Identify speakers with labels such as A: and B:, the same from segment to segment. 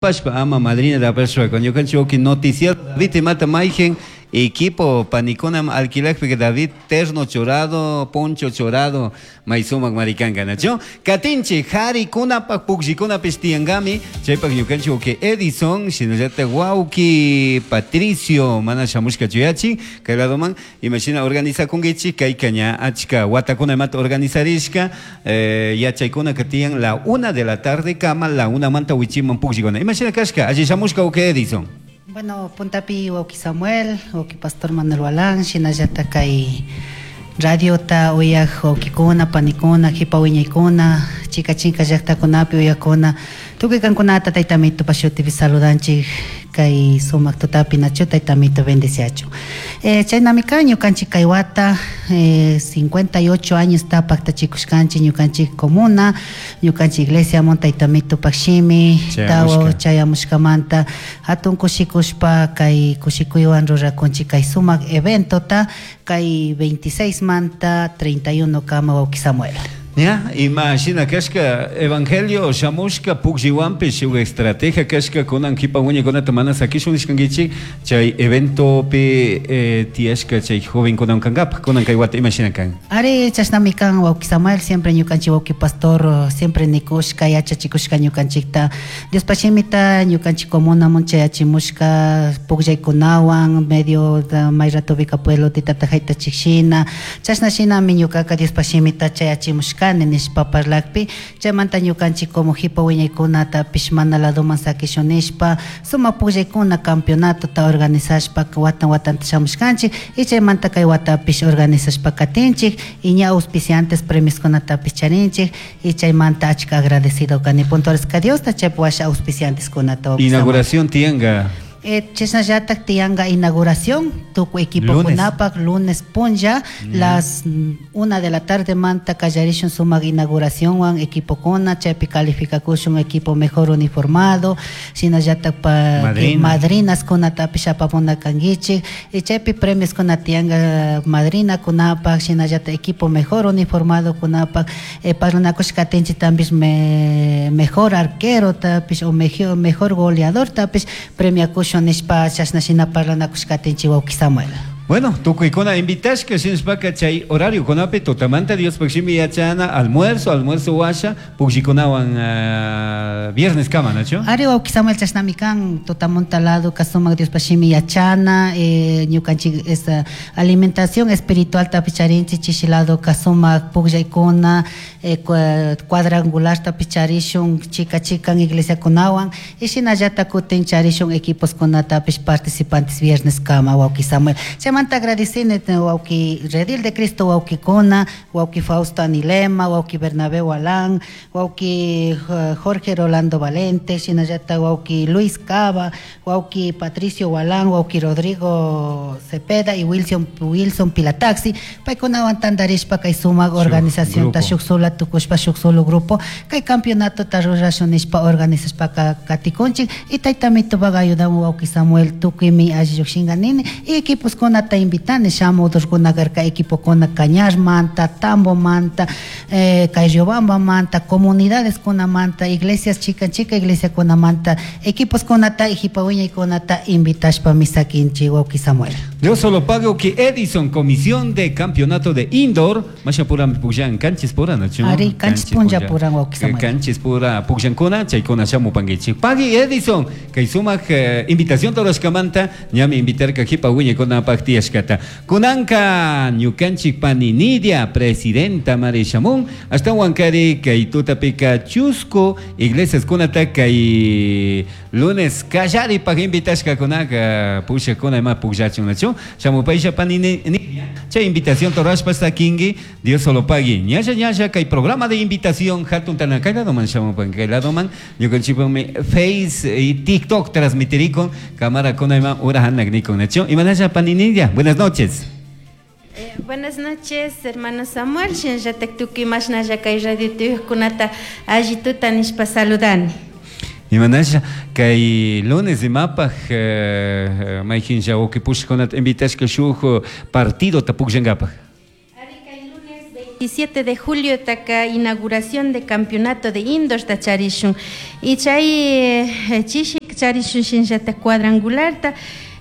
A: Pashpa ama madrina apashpa ñukanchik wawki noticiero David imata mayqin equipo panikunam alquilakpika David terno churado, poncho churado may sumak marikanka nachu? Katinchik harikunapak pukllikunapish tiyankami chaypak ñukanchik wawki Edison shinallatak wawki Patricio mana shamushkachu yachin kay ladoman imashina organizakunkichik kayka ña achka watakuna imata organizarishka Yachaykunaka tiyan la una de la tarde kama la unamanta wichiman pukllikuna. Imashina kashka? Alli shamushka wawki Edison.
B: Bueno, puntapi wawki Samuel, wawki Pastor Manuel Walán, shinallatak kay radiota uyak wawkikuna, panikuna, jipa wiñaykuna, chika chinka llaktakunapi uyakuna, tukuy kankunata Tayta Amitopa shutipi saludanchik. Kay sumak tutapi nachu Tayta Amito bendeciachun. Eh, chaynami kan ñukanchik kay wata eh, 58 añosta paktachikushkanchik ñukanchik comuna, ñukanchik iglesiamun Tayta Amitopak shimi tawa chayamushkamanta hatun kushikushpa kay kushikuywan rurakunchik kay sumak eventota kay 26 manta 31 kama wawki Samuel.
A: Ña, ima shina cashca evangelio shamushca pukllihuanpish shuk estrategia cashca cunan jipa huiñaicunata mana saquishun nishcanguichik chay eventopi eh, tiyashca chay jovencunawan cangapaj cunan cay wata ima shina can?
B: Ari, chashnami can wauki Samuel, siempre ñucanchik wauki pastor siempre nicushca, yachachikushca ñucanchikta Diospa shimita ñucanchik comunamun chayachimushca pugllaicunahuan medio may ratopica pueblotita tajaytachik shina Chashna shinami ñucaca Diospaj Shimita chayachimushcani nishpa parlajpi, chaimanta ñucanchij como jipa huiñaicunatapish mana ladoman saquishun nishpa, sumaj pugllaicuna campeonatota organizashpa huatan huatanta shamushcanchij y chaimanta cai huatapish organizashpa catinchij y ña auspiciantes premioscunatapish charinchij y chaimanta achca agradecido cani puntuarisca Diosta chaipi huasha auspiciantescunata.
A: Inauguración tiyanga.
B: Chashnallataj tiyanga inauguración tucui equipocunapac lunes punlla las una de la tardemanta callarishun sumac inauguracionhuan equipocuna chaipi calificacushun equipo mejor uniformado shinallataj pa madrinascunatapish apamuna canguichij y chaipi premioscuna tiyanga madrinacunapac shinallataj equipo mejor uniformadocunapac Parlanacushca catinchitapish mejor arquerotapish o mejor goleadortapish premiacushun nishpa chashna shina parlanacushca catinchi huauqui Samuel.
A: Bueno, tucuicuna invitashca shinashpaca chay horariocunapi tutamanta Diospaj Shimi yachana, almuerzo, almuerzo huasha, pugllikunawan viernes kama, nachu?
B: Ari huauqui Samuel chashnami can, tutamunta ladoca sumac Diospaj Shimi yachana, ñucanchic esa Alimentación espiritualtapish charinchik, chishi ladoca sumac pugllaicuna, cuadrangulartapish charishun, chica chican iglesiacunahuan, y shinallata cutin charishun equiposcunatapish participantes viernescama, huauqui Samuel. Chaimanta agradecini huauqui Redil de Cristo huauquicuna, huauqui Fausto Anilema, huauqui Bernabé Hualán, Huauqui Jorge Rolando Valente, shinallata huauqui Luis Cava, huauqui Patricio Hualán, huauqui Rodrigo Cepeda y Wilson, Wilson Pilataxi, paicunahuan tandarishpa kay sumak organizacionta shuk sola tukushpa shuk solo grupo kay campeonatota rurashun nishpa organizashpaka katikunchik y tayta Mitupac ayudamun huauqui Samuel tukuymi alli llukshinga nini y equiposkunata invitani shamudurkuna karka equipokuna Cañarmanta, Tambomanta, Kay Riobambamanta, comunidadeskunamanta, iglesias chikan chika iglesiakunamanta, equiposkunata y jipa wiñaykunata invitashpami saquinchik wawki Samuel.
A: Dios solo pague que Edison, Comisión de Campeonato de Indoor, masha purami pukllan, kanchis pura nachu?
B: Ari, kanchis punlla puran wawki Samuel.
A: Kanchis pura pukllankuna, chaykuna shamupankichik. Pagui Edison, kay sumak invitación rurashkamanta, ñami invitarka jipa wiñaykunapak tiyashkata. Kunanka ñukanchik pani Nidia, presidenta mari shamun, ashtahuankari kay tutapika chusku iglesiaskunata kay lunes kallaripak invitashkakunaka pushakuna ima pukllachun nachu shamupaisha pani Nidia, chay invitación rurashpa sakinki, Dios solo pagui. Ñalla ñalla kay programa de invitación hatun tana kay ladoman shamupan, kay ladoman ñukanchikpakmi Face y TikTok transmitirikun Cámara kuna ima hora hanak nikun nachu. Imanasha pani Nidia, buenas noches.
C: Buenas noches, hermano Samuel. Shinallatak tukuy mashnalla kay radio tuyuqkunata alli tuta nishpa saludani.
A: Imanasha kay lunes imapaj mayqinlla wawqi pushaqkunata invitashka shuj partidota pukllankapaj.
C: Ari kay lunes 27 de julio taka inauguración de campeonato de indoor ta charishun y chay chishi charishun shinllata cuadrangularta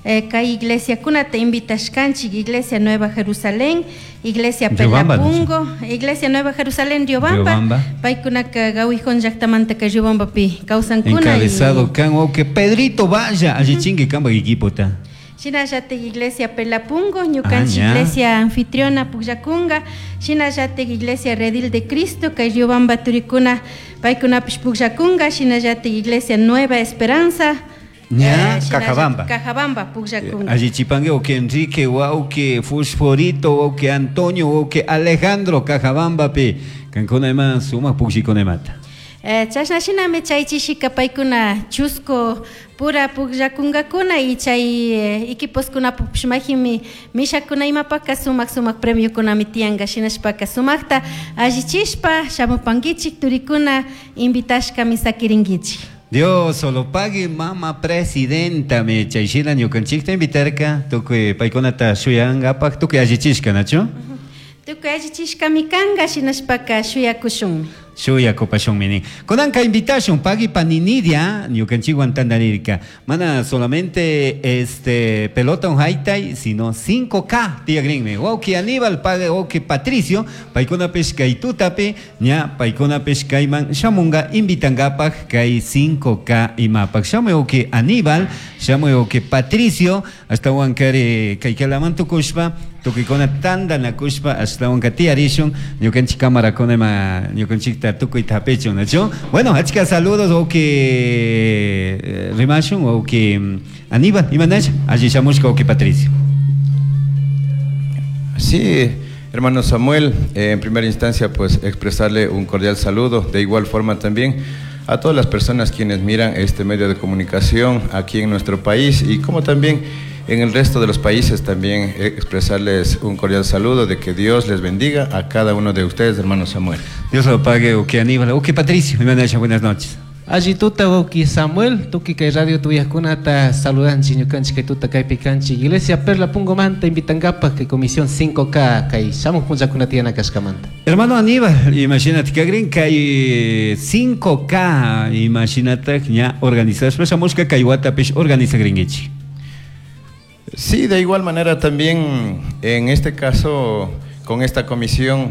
C: kay iglesiakunata invitashkanchik Iglesia Nueva Jerusalén, Iglesia Pelapungo, Iglesia Nueva Jerusalén Riobamba, paykunaka Gawijón llaqtamanta kay Riobambapi kawsankuna.
A: Encabezado kan que Pedrito vaya allichinki kanpak equipota.
C: Shinallatik Iglesia Pelapungo, ñukanchik Iglesia anfitriona pukllakunga, shinallatik Iglesia Redil de Cristo, kay Riobamba turikuna paykunapish pukllakunga, shinallatik Iglesia Nueva Esperanza,
A: ña, Cajabamba.
C: Cajabamba pukllakunga.
A: Allichipangue o que Enrique, o que Fosforito, o que Antonio, o que Alejandro Cajabamba pi. Kankuna ima sumaq pukllikunaimata.
C: Chashna shinami chay chishika paykuna chusco pura pukllakungakuna y chay equiposkunapish majinmi mishakuna imapaka sumaq sumaq premiokunami tiyanka shinashpaka sumaqta allichishpa shamupankichik turikuna invitashkami sakirinkichik.
A: Dios solo pague mama presidenta me chayshina ñukanchikta invitarka tukuy paykunata shuyankapak tukuy allichishka nachu?
C: Tukuy allichishkami kanka shinashpaka shuyakushunmi.
A: Shuyakupashunmi nin. Kunanka invitashun pagui paninidia ñukanchikwan tantarirka. Mana solamente este pelota un haitay, sino 5K tiyakrinmi. Wawki Aníbal pague wawki Patricio, paykunapish kay tutapi, ña paykunapish kayman shamunga invitankapak kay 5K imapak. Shamuy wawki Aníbal, shamuy wawki Patricio, ashtawan kari kaykalaman tukushpa, tukuykuna tantanakushpa ashtawanka tiyarishun ñukanchik camarakuna ima ñukanchikta tukuy tapichun, ¿nachu? Bueno, achka saludos o que rimashun o que Aníbal, imanasha, allí shamushka o que Patricio.
D: Sí, hermano Samuel, en primera instancia pues expresarle un cordial saludo, de igual forma también a todas las personas quienes miran este medio de comunicación aquí en nuestro país y como también en el resto de los países también expresarles un cordial saludo, de que Dios les bendiga a cada uno de ustedes, hermano Samuel.
A: Dios lo pague, o que Aníbal, o que Patricio, buenas noches.
E: Allí tuta wawki Samuel, tuki kay radio tuyajkunata saludanchik ñukanchik kay tuta kaypi kanchik Iglesia Perla Pungomanta invitankapak kay Comisión 5K kay shamuq punllakuna tiyana kashkamanta.
A: Hermano Aníbal, imagínate kagrin kay 5K, imagínate ña organizashpa shamushka kay watapish organizagrinkichik.
D: Sí, de igual manera también en este caso con esta comisión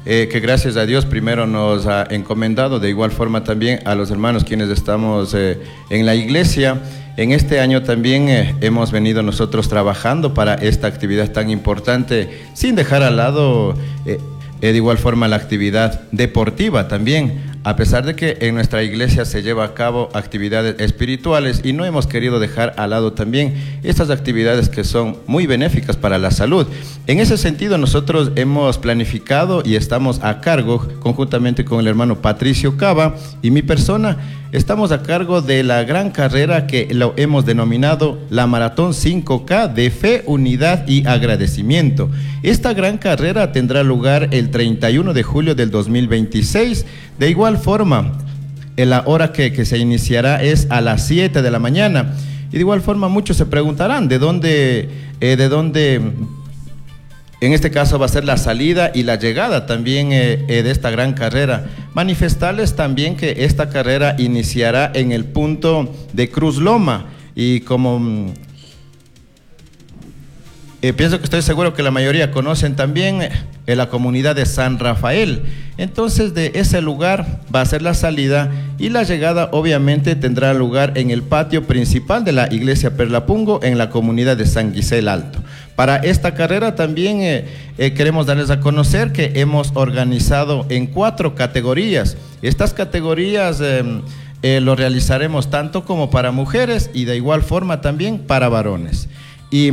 D: que gracias a Dios primero nos ha encomendado, de igual forma también a los hermanos quienes estamos en la iglesia. En este año también hemos venido nosotros trabajando para esta actividad tan importante, sin dejar al lado de igual forma la actividad deportiva también. A pesar de que en nuestra iglesia se lleva a cabo actividades espirituales y no hemos querido dejar al lado también estas actividades que son muy benéficas para la salud. En ese sentido, nosotros hemos planificado y estamos a cargo, conjuntamente con el hermano Patricio Cava y mi persona, estamos a cargo de la gran carrera que lo hemos denominado la Maratón 5K de Fe, Unidad y Agradecimiento. Esta gran carrera tendrá lugar el 31 de julio del 2026. De igual forma, en la hora que se iniciará es a las 7 de la mañana. Y de igual forma muchos se preguntarán de dónde, en este caso va a ser la salida y la llegada también de esta gran carrera. Manifestarles también que esta carrera iniciará en el punto de Cruz Loma y como pienso que estoy seguro que la mayoría conocen también la comunidad de San Rafael. Entonces de ese lugar va a ser la salida y la llegada obviamente tendrá lugar en el patio principal de la iglesia Perlapungo en la comunidad de San Guisel Alto. Para esta carrera también queremos darles a conocer que hemos organizado en 4 categorías. Estas categorías lo realizaremos tanto como para mujeres y de igual forma también para varones. Y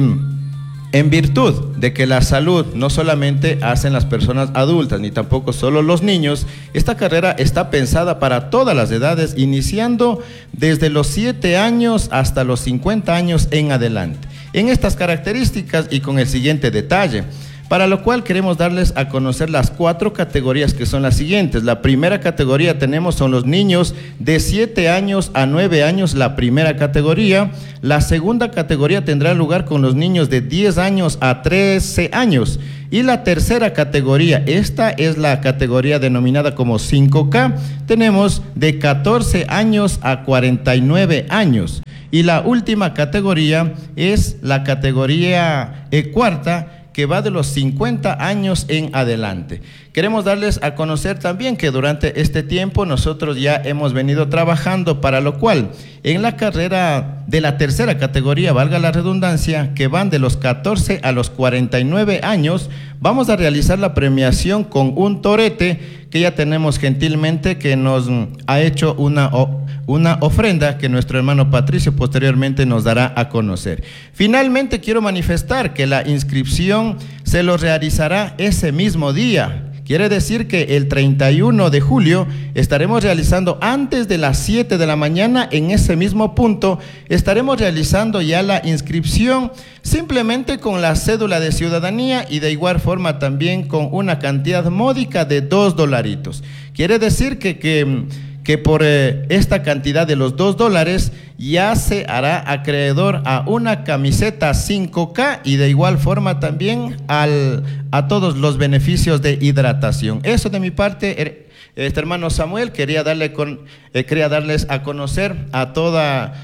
D: en virtud de que la salud no solamente hacen las personas adultas, ni tampoco solo los niños, esta carrera está pensada para todas las edades, iniciando desde los 7 años hasta los 50 años en adelante. En estas características y con el siguiente detalle, para lo cual queremos darles a conocer las 4 categorías que son las siguientes. La primera categoría tenemos son los niños de 7 años a 9 años, la primera categoría. La segunda categoría tendrá lugar con los niños de 10 años a 13 años. Y la tercera categoría, esta es la categoría denominada como 5K, tenemos de 14 años a 49 años. Y la última categoría es la categoría cuarta, que va de los 50 años en adelante. Queremos darles a conocer también que durante este tiempo nosotros ya hemos venido trabajando, para lo cual en la carrera de la tercera categoría, valga la redundancia, que van de los 14 a los 49 años, vamos a realizar la premiación con un torete que ya tenemos gentilmente, que nos ha hecho una ofrenda que nuestro hermano Patricio posteriormente nos dará a conocer. Finalmente quiero manifestar que la inscripción se lo realizará ese mismo día. Quiere decir que el 31 de julio estaremos realizando antes de las 7 de la mañana en ese mismo punto, estaremos realizando ya la inscripción simplemente con la cédula de ciudadanía y de igual forma también con una cantidad módica de $2. Quiere decir que por esta cantidad de los $2 ya se hará acreedor a una camiseta 5K y de igual forma también a todos los beneficios de hidratación. Eso de mi parte, este hermano Samuel, quería darles a conocer a toda,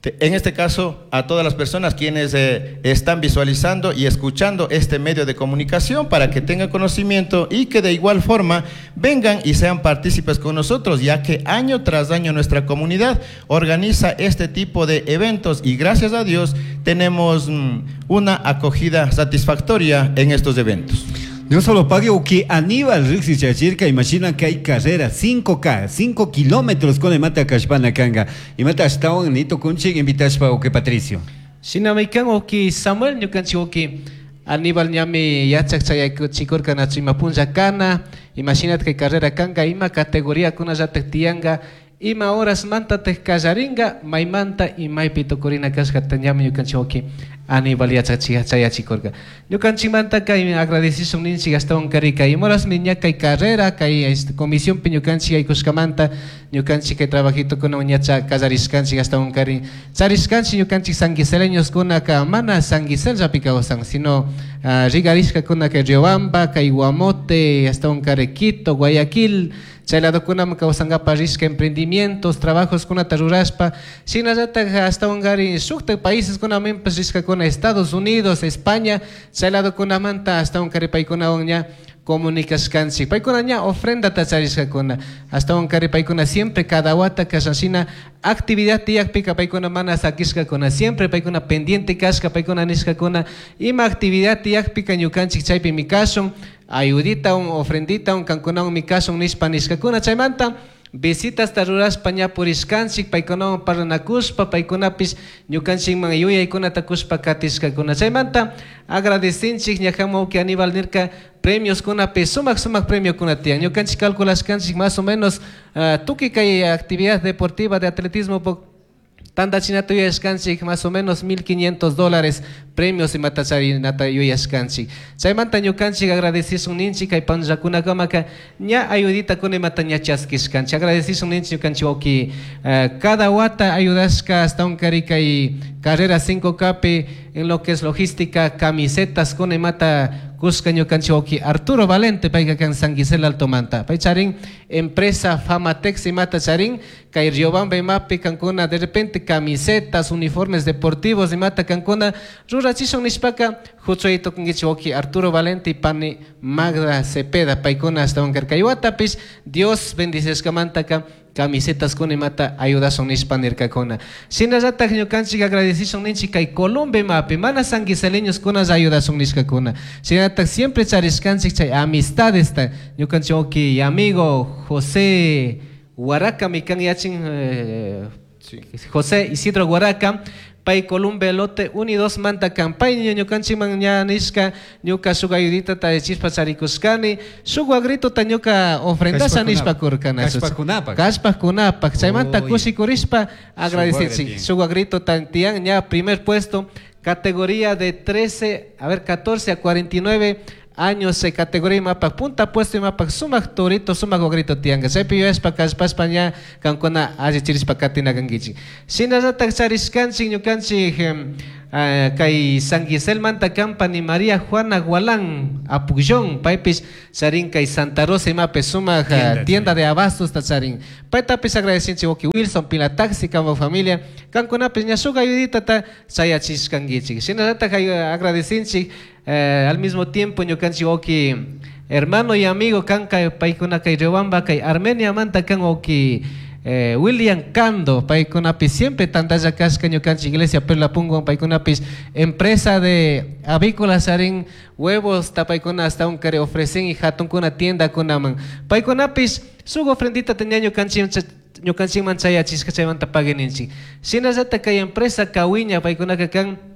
D: en este caso, a todas las personas quienes están visualizando y escuchando este medio de comunicación para que tengan conocimiento y que de igual forma vengan y sean partícipes con nosotros, ya que año tras año nuestra comunidad organiza este tipo de eventos y gracias a Dios tenemos una acogida satisfactoria en estos eventos.
A: Dios solo pague o que Aníbal Rixi Chachirca, imagina que hay carrera 5K, 5 kilómetros con el mata Cashpana Kanga. Y mata hasta un nito kunchi invitashpa o que Patricio.
E: Sinamaikan o que Samuel ñukanchi o que Aníbal ñami yachak chayachikurka nachu punja kana, imagínate que carrera kanga ima categoría kuna yatak tianga, ima horas manta te kallaringa, maimanta y maypi tukurina kashkata ñami ñukanchi o que Aníbal yachachikurka. Ñukanchi manta kay agradecishun ninchi Gastón Carica y moras miña kay carrera kay comisión pi ñukanchi aykushkamanta ñukanchi kay trabajito kuna ñacha kallarishkanchi Gastón Cari charishkanchi ñukanchi sanguiseleños kuna ka mana sanguisel llapi kawsan sino rigarishka kuna kay Riobamba kay Guamote Gastón Cari Quito Guayaquil chay ladokunam kawsankapa rishka emprendimientos trabajos kunata rurashpa shinallatak Gastón Cari shuktak países kunamanpish rishkakuna Estados Unidos, España, chay ladokunamanta Gastón Cari paykunawan ña comunicashkanchik paykuna ña ofrendata charishkakuna Gastón Cari paykuna siempre cada wata kashanshina actividad tiyakpika paykuna mana sakishkakuna siempre paykuna pendiente kashka paykuna nishkakuna ima actividad tiyakpika ñukanchik chaypimi kashun ayudita un ofrendita un kankunawan mi kashun nishpa nishkakuna chaymanta visitas rurashpa ña purishkanchik paykunawan parlanakushpa paykunapish ñukanchikman yuyaykunata kushpa katishkakuna chaymanta agradecinchik ñajamu wawki Aníbal nirka premios kunapi sumak sumak premiokuna tiyan ñukanchik calculashkanchik más o menos tukuy kay actividad deportiva de atletismo tantachinata yuyashkanchik más o menos $1,500 premios imata charinata yuyashkanchik chaymanta ñukanchik agradecishun ninchik kay panllakunakamaka ña ayudita kuna imata ña chaskishkanchik agradecishun ninchik ñukanchik wawki cada wata ayudashka hasta un kari kay carrera 5K pi en lo que es logística camisetas kuna imata kushka ñukanchik wawki Arturo Valente payka kan San Gisela Altomanta pay charin empresa Famatex imata charin kay Riobamba imapi kankuna de repente camisetas uniformes deportivos imata kankuna rurachishun nishpaka huchuyto kunkichik wawki Arturo Valente y pani Magda Cepeda paykuna hasta kay watapish Dios bendicishkamantaka camisetas kuna imata ayudashun nishpa nirkakuna shinallatak ñukanchik agradecishun ninchik kay Colombia imapi mana sanguiseleños kuna ayudashun nishkakuna shinallatak siempre charishkanchik chay amistadesta ñukanchik wawki amigo José Huaraca mikan yachin José Isidro Huaraca pay Colombia lote 1 y 2 manta campaña ñukanchikman ña nishka ñuka shuk ayudita ta chispa charikushkani shuk wagrito ta ñuka ofrendasha nishpa kurkana kashpakunapak chaymanta kushikurishpa agradecechik shuk wagrito tiyan ña primer puesto categoría de 13 a ver 14 a 49 años se categoría mapa punta puesto y mapa sumak torito sumak wagrito tianga chaypi yuyashpa kashpashpa ña kankuna allichirishpa katina kankichik shinallatak charishkanchik ñukanchik Kay San Giselmanta kan pani María Juana Gualán Apullón, paypish charin kay Santa Rosa imapi sumak tienda de abastos ta charin. Paytapis agradecinchik wawki Wilson Pila Taxi kanpak familia, kankunapis ña shuk ayuditata chayachishkankichik. Shinallatak agradecinchik al mismo tiempo ñukanchik wawki hermano y amigo kan paykuna kay Riobamba kay Armeniamanta kan wawki William Cando, paykunapis siempre tantalla kashka ñukanchik iglesia Perla Pungo, paykunapis empresa de avícolas charin huevos tapaykuna hasta un kare ofrecen y hatunkuna tiendakunaman. Paykunapis shuk ofrendita tenía ñukanchikman chayachishka chaymanta pagueninchik. Shinallatak kay empresa Kawiña paykunaka kan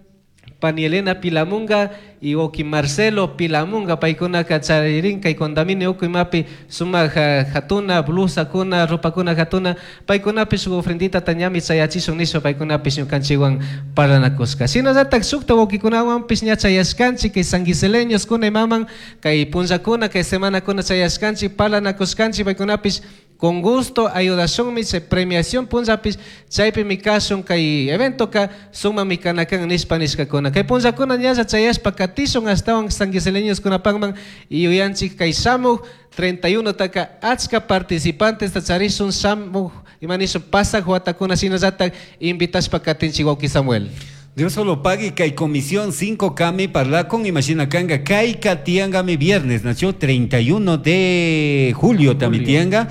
E: pani Elena Pilamunga y wawki Marcelo Pilamunga paykunaka charirin kay condominio uku imapi sumak hatuna blusakuna ropakuna hatuna paykunapish shuk ofrendita ñami chayachishun nishpa paykunapish ñukanchikwan parlanakushka. Shinallatak shukta wawkikunawanpish ña chayashkanchik kay sanguiseleños kuna imaman kay punllakuna kay semanakuna chayashkanchik parlanakushkanchik paykunapish con gusto ayudashunmi chay premiación punllapis chaypimi kashun kay eventoka sumami kanakan nishpa nishkakuna. Kay punllakuna ñalla chayashpa katishun ashtawan sanguiseleños kunapakman y yuyanchik kay shamuk 31 taka achka participantes ta charishun shamuk ima nishun pasak watakuna shinallatak invitashpa katinchik wawki Samuel.
A: Dios solo pague kay comisión 5 kami parlakun imagina kanga kay katiangami viernes nació 31 de julio tamitianga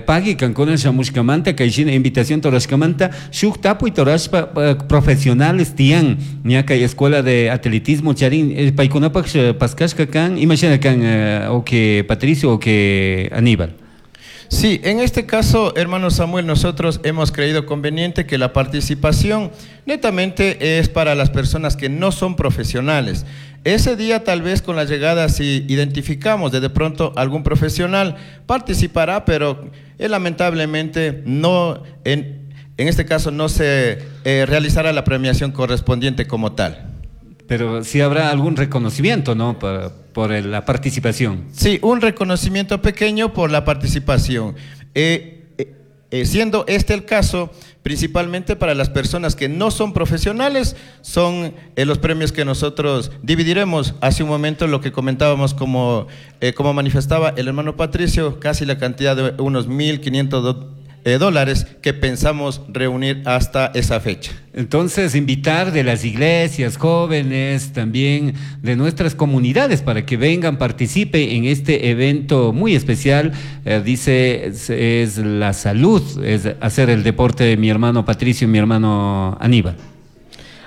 A: pague kankuna shamushkamanta kay shina invitación torashkamanta shuk tapuy torashpa profesionales tian ña kay escuela de atletismo charin paykunapak paskashka kan imagina kan o que Patricio o que Aníbal.
D: Sí, en este caso, hermano Samuel, nosotros hemos creído conveniente que la participación netamente es para las personas que no son profesionales. Ese día tal vez con la llegada, si identificamos de pronto algún profesional, participará, pero lamentablemente no, en este caso no se realizará la premiación correspondiente como tal.
A: Pero sí habrá algún reconocimiento, ¿no? Por la participación.
D: Sí, un reconocimiento pequeño por la participación. Siendo este el caso, principalmente para las personas que no son profesionales, son los premios que nosotros dividiremos. Hace un momento lo que comentábamos, como manifestaba el hermano Patricio, casi la cantidad de unos $1,500 que pensamos reunir hasta esa fecha.
A: Entonces, invitar de las iglesias, jóvenes, también de nuestras comunidades para que vengan, participen en este evento muy especial. Dice, es la salud, es hacer el deporte de mi hermano Patricio y mi hermano Aníbal.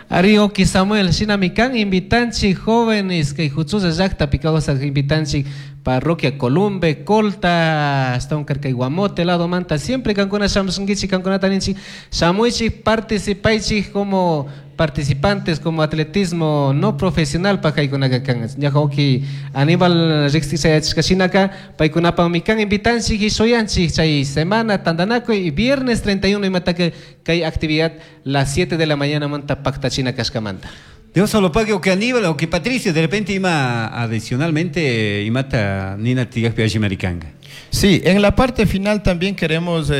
E: Arioki Samuel, shinamikan invitanchi jóvenes que huchuza llaqta pikawasa invitanchi parroquia Columbe, Colta, hasta un carcay Guamote, lado manta, siempre kankuna shamusunkichik, kankunata ninchik, shamuichik, participaichik como participantes, como atletismo no profesional pajaykunaka kan. Ñaja Aníbal riqsisayachishka paykunapaqmi kan invitanchik y shuyanchik chay semana tandanakuy y viernes 31 imataka kay actividad las 7 de la mañana manta pactachina kashkamanta.
A: Dios solo pague o que Aníbal o que Patricio de repente ima adicionalmente imata Nina Tigajpi Maricanga.
D: Sí, en la parte final también queremos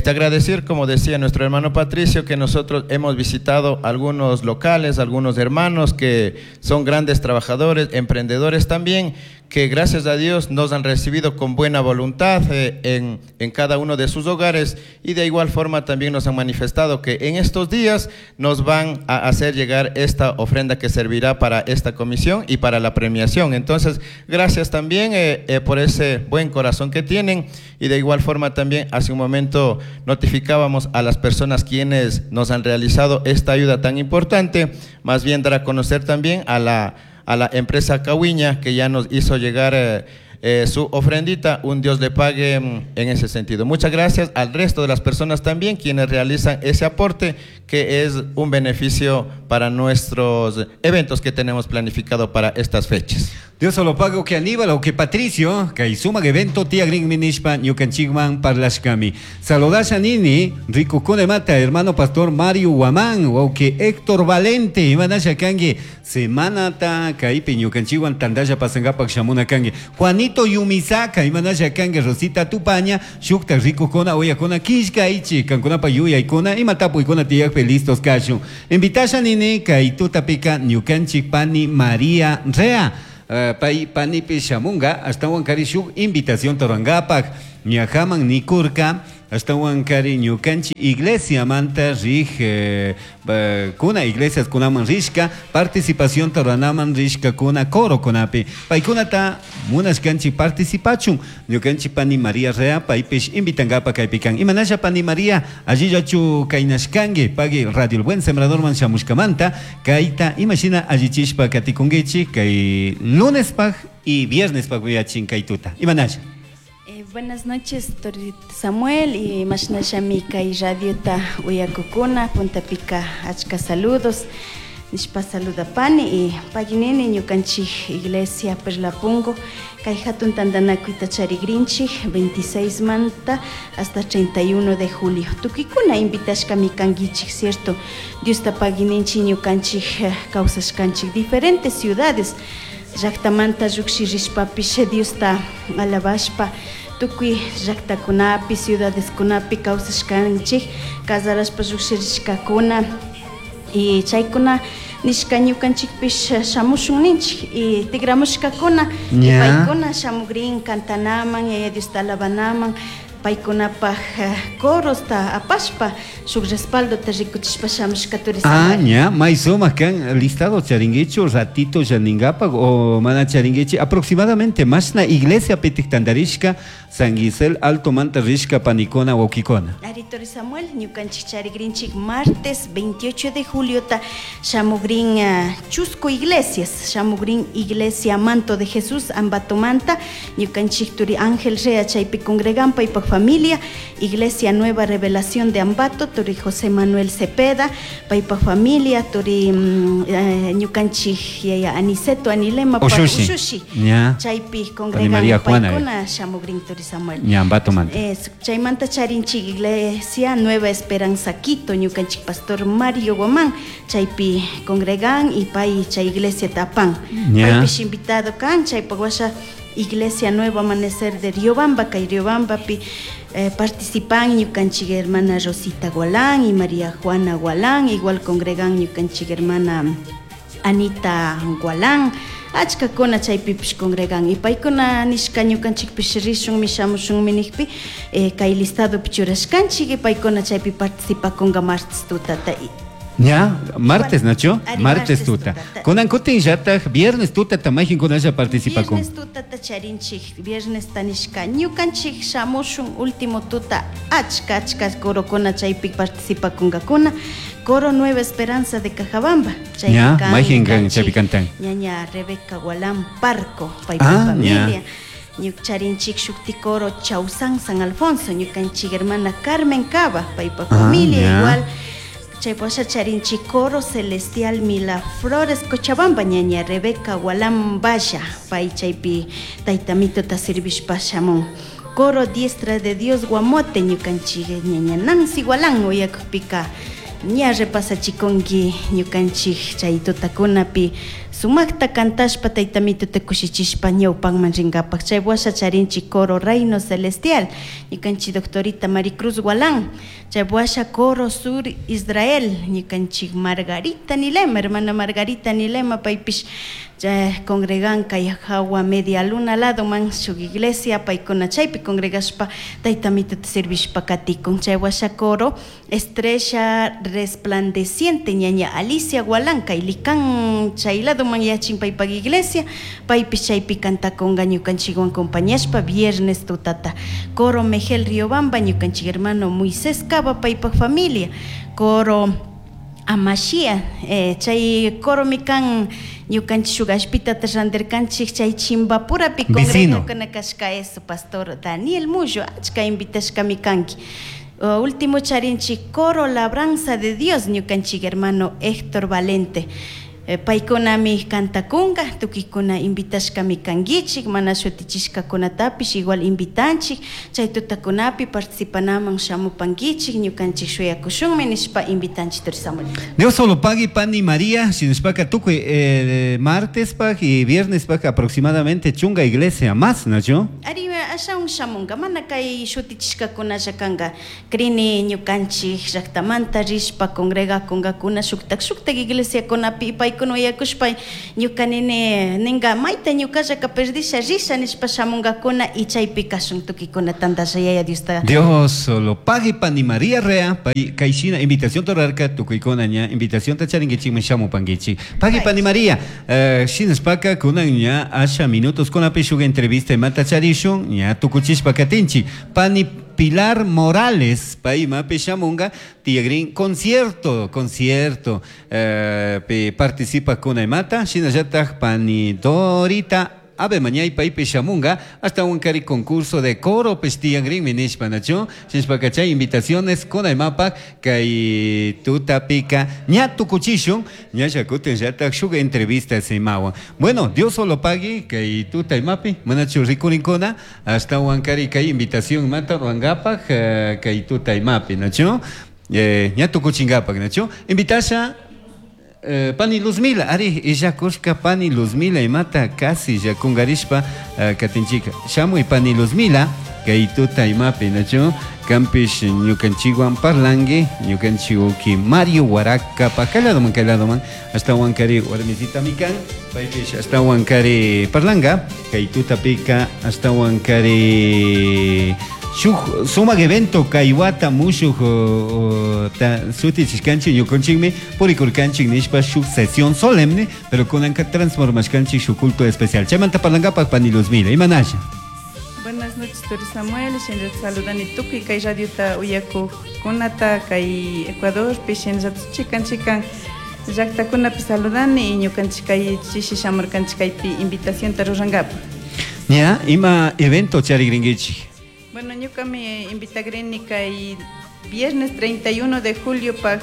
D: agradecer, como decía nuestro hermano Patricio, que nosotros hemos visitado algunos locales, algunos hermanos que son grandes trabajadores, emprendedores también, que gracias a Dios nos han recibido con buena voluntad en cada uno de sus hogares, y de igual forma también nos han manifestado que en estos días nos van a hacer llegar esta ofrenda que servirá para esta comisión y para la premiación. Entonces, gracias también por ese buen corazón que tienen, y de igual forma también hace un momento notificábamos a las personas quienes nos han realizado esta ayuda tan importante, más bien dar a conocer también a la empresa Cahuiña, que ya nos hizo llegar su ofrendita. Un Dios le pague en ese sentido. Muchas gracias al resto de las personas también quienes realizan ese aporte, que es un beneficio para nuestros eventos que tenemos planificado para estas fechas.
A: Dios lo pago que Aníbal o que Patricio, kay sumak evento tiyagrinmi nishpa ñukanchikman parlashkami. Saludasha nini, rikukuna mata, hermano pastor Mario Guamán, wawki Héctor Valente, imanasha kanki, semanata kaypi ñukanchikwan tantalla pasankapak shamuna kanki. Juanito Yumisaka, imanasha kanki, Rosita Tupaña, shukta rikukuna, uyakuna, killkaychik, kankunapa yuyaykuna, ima tapuykuna tiyakpi listos kashun. Invitasha nini, kay tutapika ñukanchik pani María Rea. Pay panipi shamunga ashtawan kari shuk invitación rurankapak ñajaman nikurka ashtawan kari ñukanchik iglesiamanta rij kuna iglesias kunaman rishka participación ruranaman rishkakuna corokunapi paykunata munashkanchik participachun ñukanchik pani María Rea paypish invitankapak kaypi kan. Imanasha pani María allillachu kaynashkanki pagui Radio El Buen Sembradorman shamushkamanta kayta imashina allichishpa katikunkichik kay lunespaj y viernespaj uyachin kay tuta. Imanasha.
F: Buenas noches, Tori Samuel y mashnashami kay radiota uyakukuna puntapika achka saludos nishpa saludapani y paginini ñukanchik iglesia Perlapungo kay hatun tantanakuyta charigrinchik 26 manta hasta 31 de julio. Tukikuna invitashkami kankichik, cierto? Diosta pagininchik ñukanchik kawsashkanchik diferentes ciudades llaktamanta llukshirishpapish Diosta alabashpa tukuy llaktakunapi ciudadeskunapi kawsashkanchik casarashpa llukshirishkakuna y chaykuna nishka ñukanchikpish shamushun ninchik y tigramushkakuna y paykuna shamugrin cantanaman yaya Diosta alabanaman paykunapaj corosta apashpa shuk respaldota rikuchishpa shamushka turi
A: Ah, ña, may sumak kan listado charinguichu ratito yaningapak o mana charinguichi aproximadamente mashna iglesia pitik tantarishka San Gisel Alto Manta rishka panikuna wawkikuna.
F: Ari Tori Samuel, ñukanchik charigrinchik martes 28 de julio ta shamugrin Chusco Iglesias, shamugrin Iglesia Manto de Jesús Ambatomanta, ñukanchik turi Ángel Rea chaypi congregan paypak familia, Iglesia Nueva Revelación de Ambato, turi José Manuel Cepeda, paypak familia, turi ñukanchik yaya Aniceto Anilema pa
A: Ushushi.
F: Ushushi.
A: Ña.
F: Chaypi
A: Pani
F: congregan
A: María Juana,
F: paykuna shamugrin turi Samuel.
A: Ña, Ambatomanta.
F: Chaymanta charinchik Iglesia Nueva Esperanza Quito, ñukanchik pastor Mario Guamán, chaypi congregan y pay chay iglesia tapan.
A: Ña.
F: Paypish invitado kan, chaypa washa Iglesia Nuevo Amanecer de Riobamba, kay Riobambapi participan ñukanchik hermana Rosita Gualán y María Juana Gualán, igual congregan ñukanchik hermana Anita Gualán, achkakuna chaypipish congregan y paykuna nishka ñukanchikpish rishunmi shamushunmi nijpi kay listadopi churashkanchik y paykuna chaypi participakunga martes tutata.
A: Ña, martes, Nacho,
F: Ari,
A: martes
F: martes
A: tuta.
F: tutata.
A: Kunan kutin llataj viernes tuta tamajin kunalla participakun.
F: Viernes tutata charinchik, viernes tanishka ñukanchik shamushun último tuta achka achka corokuna chaypi participakunkakuna. Coro Nueva Esperanza de Cajabamba. Chay
A: Ña,
F: kan
A: mayjin kan
F: ñukanchik
A: chaypi cantan.
F: Ñaña Rebeca Gualán Parco, paypa
A: Ah,
F: familia.
A: ña.
F: Ñukarinchik shukti coro Chausán San Alfonso, ñukanchik hermana Carmen Cava, paypa
A: Ah,
F: familia
A: ña.
F: igual. Chaypasha charinchik coro celestial Mila Flores Cochabamba, ñaña Rebeca Gualán Valla, pay chaypi taytamito ta servishpa shamun. Coro Diestra de Dios Guamote, ñukanchik ñaña Nancy Gualán, uyakpika ña repasachikunki ñukanchik chay tutakunapi sumakta kantashpa taytamito ta kushichishpa ñawpanman rinkapak. Chay washa charinchik coro Reino Celestial, ñukanchik doctorita Maricruz Gualán, chay washa coro Sur Israel, ñukanchik Margarita Nilema, hermana Margarita Nilema, paypish chay congregan kay hawa media luna lado man shuk iglesia, paykuna chaypi congregashpa taytamito ta servishpa katikun. Chay washa coro Estrella Resplandeciente, ñaña Alicia Gualán, kay likan chay lado man yachin paypak iglesia, paypish chaypi kantakunga ñukanchikwan compañashpa viernes tutata. Coro Mejel Riobamba, ñukanchik hermano Moisés Cava, paypak familia. Coro Amashia, chay coro mikan ñukanchik shuk ashpitata randirkanchik chay Chimbapurapi
A: Vecino.
F: congregakuna kashka eso, pastor Daniel Mullo, achka invitashkami kanki. Último charinchik coro Labranza de Dios, ñukanchik hermano Héctor Valente. Paykunami kantakunka, tukuykuna invitashkami kankichik, mana shutichishkakunatapish igual invitanchik, chay tutakunapi participanaman shamupankichik, ñukanchik shuyakushunmi nishpa invitanchik turi Samuel.
A: Dios solo pagui pani María, shinashpaka tukuy martespaj y viernespaj aproximadamente chunga iglesia más, ¿nachu?
F: Ari, ashawan shamunka, mana kay shutichishkakunalla kanka, crini ñukanchik llaktamanta rishpa congregakunkakuna shuktak shuktak iglesiakunapi paykuna uyakushpa ñuka nini ninka mayta ñukallaka perdisha risha nishpa shamunkakuna y chaypi kashun tukuykuna tantalla Yaya Diosta.
A: Dios solo pagui pani María Rea, pay kayshina invitación rurarka tukuykuna ña invitacionta charinkichikman shamupankichik. Pagui pani María, shinashpaka kunan ña asha minutos kunapi shuk entrevista imata charishun ña tukuchishpa katinchik. Pani Pilar Morales, pay imapi shamunka tiyakrin concierto, concierto pi participakuna imata, shinallatak pani Dorita Ave mañay paypi shamunka ashtawankari concurso de coro pish tiyakrinmi nishpa, nachu? Shinashpaka chay invitaciones kuna imapak kay tutapika ña tukuchishun, ñalla kutinllatak shuk entrevista imawan. Bueno, Dios solo pagui kay tuta imapi, manachu rikurinkuna ashtawankari kay invitación imata rurankapak kay tuta imapi, nachu? Ña tukuchinkapak, nachu? Invitasha pani Luzmila, ari illakushka pani Luzmila imata casi llakungarishpa katinchika. Shamuy pani Luzmila, kay tuta imapi, nachu? Kampish ñukanchikwan parlanki, ñukanchik uki Mario Huaraca, kay ladoman, kay ladoman, ashtawankari warmisitami kan, paypish ashtawankari parlanka, kay tutapika ashtawankari shuk sumak evento kay wata mushuk ta sutichishkanchik ñukanchikmi purikurkanchik nishpa shuk sesión solemne, pero kunanka transformashkanchik shuk culto especial. Chaymanta parlankapak pani Luzmila, imanasha?
G: Buenas noches, Turi Samuel. Shinallata saludani tukuy kay radiota uyakuqkunata kay Ecuadorpi, shinallata chikan chikan llaqtakunapi saludani y ñukanchik kay chishi shamurkanchik kaypi invitacionta rurankapak.
A: Ña, ima evento charigrinkichik?
G: Bueno, ñukami invitagrini kay viernes 31 de julio pa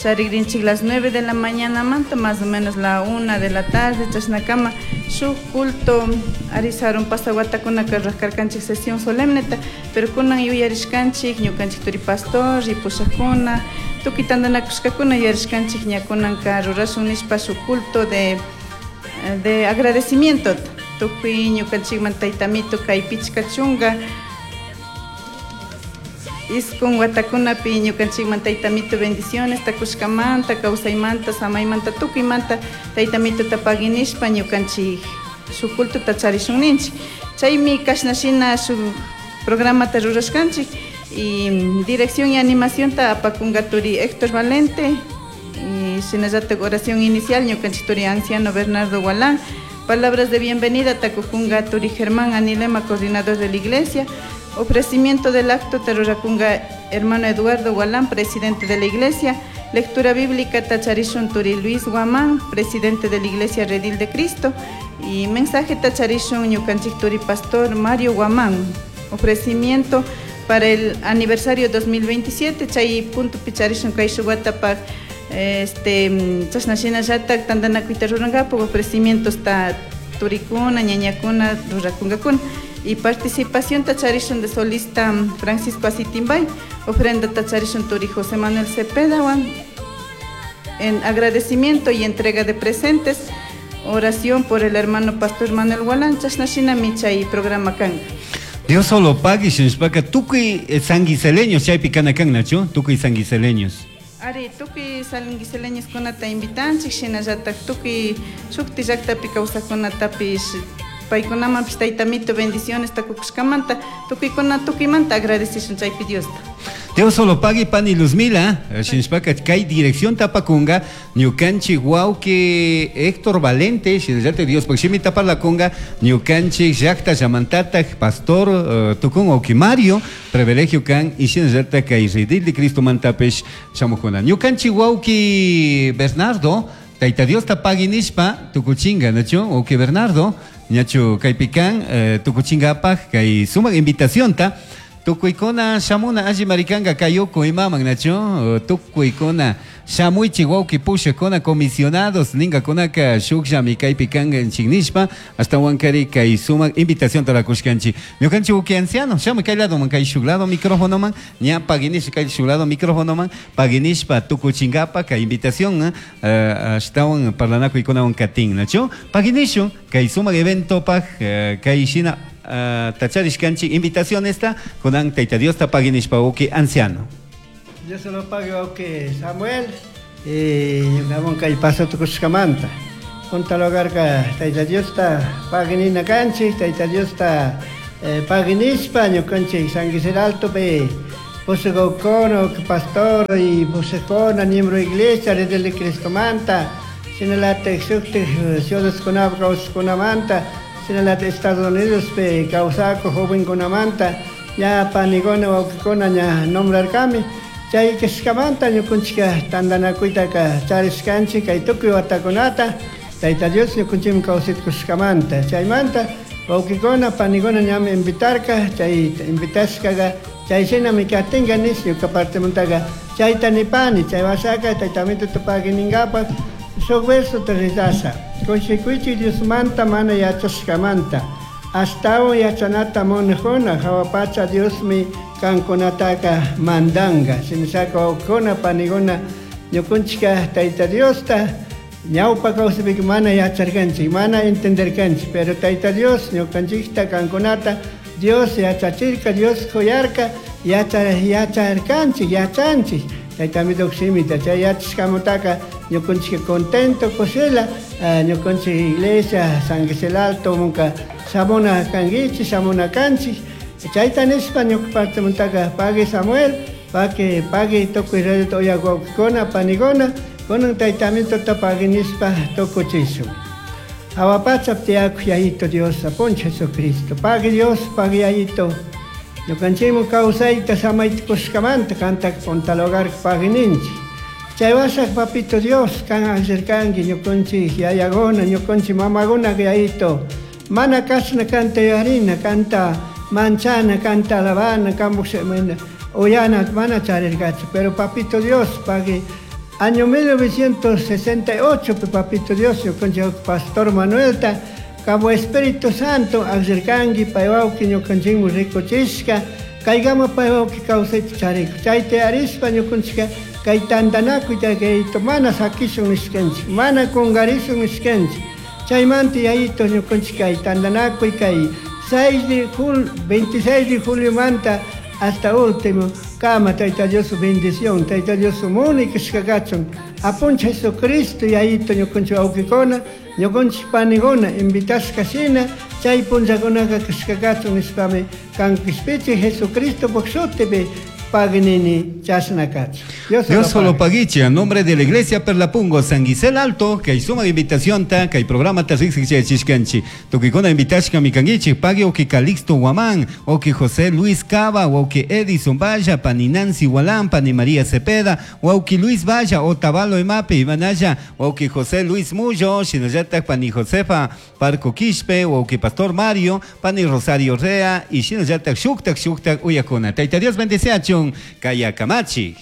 G: charigrinchik las 9 de la mañana manta, más o menos la 1 de la tarde, chashnakama shuk culto arisarun pasawatakuna raskarkanchik sesión solemneta, pero kunan yuyarishkanchik ñukanchik turi pastor y pushakuna tukuy tantanakushkakuna yuyarishkanchik ña kunanka rurashun nishpa shuk culto de agradecimiento tukuy ñukanchikman taytamito kay pichka chunka iskun watakunapi ñukanchikman taytamito bendiciones takushkamanta kawsaymanta samaymanta tukuymanta taytamitota paginishpa ñukanchik shuk cultota charishun ninchik. Chaymi kashnashina shuk programata rurashkanchik y dirección y animacionta apakunka turi Héctor Valente y shinallatak oración inicial ñukanchik turi anciano Bernardo Gualán. Palabras de bienvenida takukunga turi Germán Anilema, coordinador de la iglesia. Ofrecimiento del acto tarurakunga hermano Eduardo Gualán, presidente de la iglesia. Lectura bíblica tacharishun turi Luis Guamán, presidente de la iglesia Redil de Cristo. Y mensaje tacharishun ñukanchik turi pastor Mario Guamán. Ofrecimiento para el aniversario 2027, chay punto picharishun kay shuwatapak, chashnashina llatak tantanakuyta rurankapak, ofrecimientos ta turikuna, ñañakuna, rurakunkakuna. Y participación tacharishun de solista Francisco Asitimbay, ofrenda tacharishun turi José Manuel Cepeda, en agradecimiento y entrega de presentes, oración por el hermano pastor Manuel Gualán, chashnashina michay programa kanka.
A: Dios solo pague, shinashpaka tukuy sanguiseleños chaypi kana kan, nachu? Tukuy sanguiseleños.
G: Ari, tukuy sanguiseleños kunata invitanchik, shinallatak tukuy shukti llaktapi kawsaqkunatapish paykunamanpish taytamito bendiciones takukushkamanta, tukuykuna tukuymanta agradecishun chaypi Diosta.
A: Dios solo pague pani Luzmila, shinashpaka kay dirección tapakunga, ñukanchik wawki Héctor Valente, shinallatak Dios pakshimi taparlakunga, ñukanchik llakta llamantatak pastor tukun wawki Mario, privilegio kan, y shinallatak kay Redil de Cristo mantapish shamukuna. Ñukanchik wawki Bernardo, Tayta Dios tapagui nishpa, tukuchinga, nachu, wawki Bernardo, ñachu kaypikan, tukuchingapaj, kay sumak invitacionta. Tukuykuna shamuna alli marikanka kayuku imaman nachu tukuykuna shamuychik wawqi pushakuna comisionados ninkakunaka shukllami kaypi kankanchik nishpa ashtawankari kay sumak invitación tarakushkanchik. Ñukanchik wawqi anciano shamuy kay ladoman kay shuk lado micrófonoman ña paguinishpa kay shuk lado micrófonoman paguinishpa tukuchinkapa kay invitación ashtawan parlanakuykunawan katin nachu paguinishun kay sumak eventopaj kay shina tacharishkanchik invitacionesta kunan Tayta Diosta paguinishpa wawqi anciano.
H: Dios se lo pague wawqi Samuel ñukamun kay paso tukushkamanta. Punta lugarka Tayta Diosta paguinina kanchik, Tayta Diosta paguinishpa ñukanchik San Gisel Altopi pushakukuna, pastor y pushakuna, miembro iglesia, Redil de Cristomanta, shinalatik shuktik ciudadkunapi kawsaqkunamanta, shinalatik Estados Unidospi kawsakuk jovenkunamanta, ña panikuna wawqikuna ña nombrarkami. Chay kashkamanta ñukunchika tantanakuytaka charishkanchik kay tukuy watakunata Tayta Dios ñukunchikmi kawsaykushkamanta. Chaymanta wawqikuna panikuna ñami invitarka, chay invitashkaqa chay shinami katinka nish ñuka partemantaqa chayta nipani, chay wasaka Tayta Amituta paguininkapak shuk versota rezasha. Kushikuychik Diosmanta mana yachashkamanta. Ashtawan yachanata munajuna hawa pacha Diosmi kankunataka mandanka. Shinashaka wawqikuna panikuna ñukunchika Tayta Diosta ñawpa kawsaypika mana yacharkanchik, mana entenderkanchik, pero Tayta Dios ñukanchikta kankunata Dios yachachirka, Dios kuyarka, yacharkanchik, yachanchik. Tayta Amitupak shimita chay yachashkamantaka ñukanchik contento kushila ñukanchik iglesia San Gisel Alto munka shamuna kankichik, shamuna kanchik. Chayta nishpa ñuka partemantaka pagui Samuel, pagui pagui tukuy radio uyak wawqikuna panikuna, kunan Tayta Amituta pagui nishpa tukuchishun. Hawa pachapi tiyakuq Yayito Dios, Apunchik Jesucristo. Pagui Dios, pagui Yayito. Ñukanchikman kawsayta samayta kushkamanta kantaka punta lugar pagui ninchik. Chay washaq Papito Dios, kan akllarkanki ñukanchik yayakuna, ñukanchik mamakuna Yayito. Mana kashna kanta yuyarina, kanta manchana, kanta alabana, kanpuk uyana mana charirkachu. Pero Papito Dios, pagui año 1968 Papito Dios, ñukanchik Pastor Manuelta, Cabo Espíritu Santo, akllarkanki pay wawqi ñukanchikman rikuchishka, kaykama pay wawqi kawsayta chariku. Chayta yarishpa ñukanchika kay tantanakuyta Yayito mana sakishun nishkanchik, mana kunkarishun nishkanchik. Chaymanta Yayito ñukanchik kay tantanakuy kay 26 de juliomanta hasta último kama Tayta Dios bendición, Tayta Dios muni kashkakachun. Apunchik Jesucristo Yayito ñukanchik wawqikuna, ñukanchik panikuna invitashka shina chay punllakunaka kashkakachun nishpami kan kishpichik Jesucristo shutipi paginini chashna kachun.
A: Dios solo paguiche a nombre de la Iglesia Perlapungo San Gisel Alto, que hay suma invitación ta, que hay programa ta rixi chishkanchi. Tukikuna invitashka mikangichi, pague o que Calixto Guamán, o que José Luis Cava, o que Edison Valla, pani Nancy Gualán, pani María Cepeda, o que Luis Valla, o Tabalo Emape, Imanaya, o que José Luis Mullo, Shinayata, pani Josefa Parco Quispe, o que Pastor Mario, pani Rosario Rea, y Shinayata Shuktak Shuktak Uyakuna. Taita Dios bendice a Chun, Kaya Kamachi.